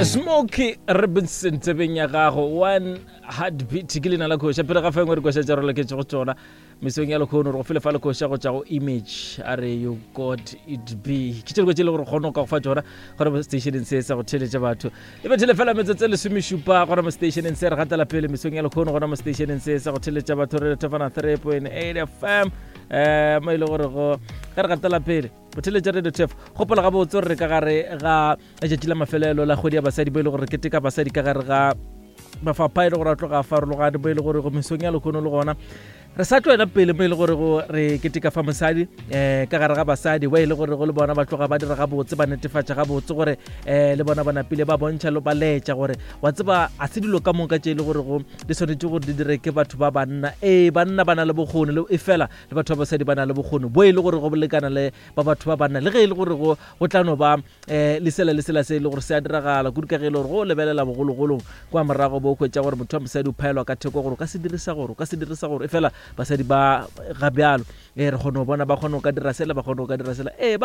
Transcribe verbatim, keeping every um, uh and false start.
Smokey Robinson tsebeng ya gago one heartbeat ke leina la koša pele ga fengwe re koša tša re loketše go tsona mesong ya lekgono re go fele fa le koša go tša go image a re you got it be ke tše diko tše e le gore kgone go ka go fa tsona gona mo stationeng se sa go theletša batho e bethele fela metsotso e lesomešupa gona mo stationeng se re gatela pele mesong ya lekgono gona mo stationeng se sa go theletša batho re thefana three point eight fm um mo e le gore go ge re gatela pele go theletša radio tef gopola gabotse gore re ka gare ga letšatši la mafelelo la kgwedi ya basadi bo e le gore re keteka basadi ka gare ga mafapha e le gore a tloga a farologane bo e le gore go mesong ya lekgono le gona re sa tloela pele mo e le gore go re keteka fa mosadi um ka gare ga basadi ba e le gore go le bona ba tloga ba dira gabotse ba netefatša gabotse gore um le bona ba napile ba bontšha le ba laetša gore wa tseba a se dilo ka moka tše e le gore go di swanetše gore di dire ke batho ba banna ee banna ba na le bokgoni le e fela le batho ba basadi ba na le bokgoni bo e le gore go lekana le ba batho ba banna le ge e le gore go go tla no ba um le sela le sela se e le gore se a diragala kudu ka ge e le gore go lebelela bogologolong kwa morago bo hwetša gore motho wa mosadi o phaelwa ka theko gore o ka se dirisa gore o ka se dirisa gore e fela basadi ba ga bjalo e re kgone go bona ba kgone go ka dira sela ba kgone go ka dira sela ee ba